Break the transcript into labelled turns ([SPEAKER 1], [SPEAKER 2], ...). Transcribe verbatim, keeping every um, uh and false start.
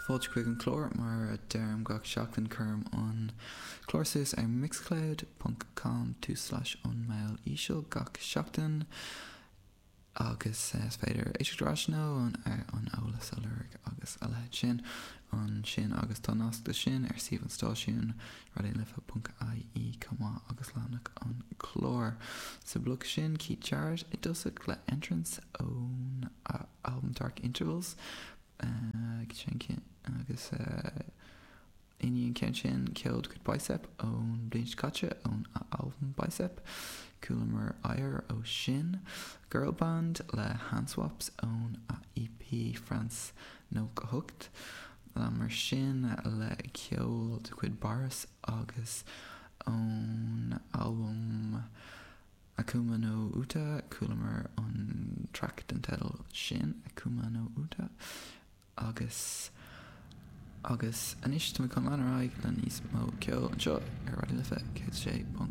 [SPEAKER 1] Fáilte chuig an chlár mar a deirim gach seachtain cuirim an clár suas ar mixcloud ponc com tulslais an Meall Íseal gach seachtain agus is féidir éisteacht ar ais nó an an eolas a lorg agus a leithéid sin ansin agus tá nasc leis sin ar suíomh an stáisiúin raidionalife.ie chomh maith agus leathanach an chlár. Sa bhloc sin Keith Jarrett i dtosach le Entrance ón albam Dark Intervals sin agus i ndiaidh an ceann sin ceol de chuid Bicep ón bliain seo caite ón albam Bicep, Chualamar Oighear ó sin, Girl Band le Handswaps ón EP France nócha hocht, leanamar sin le ceol de chuid Boris agus ón albam Akuma no Uta chualamar an traic den teideal sin Akuma no Uta agus agus anois tá chun lean ar aghaidh le níos mó ceol anseo ar Raidió Life céad sé ponc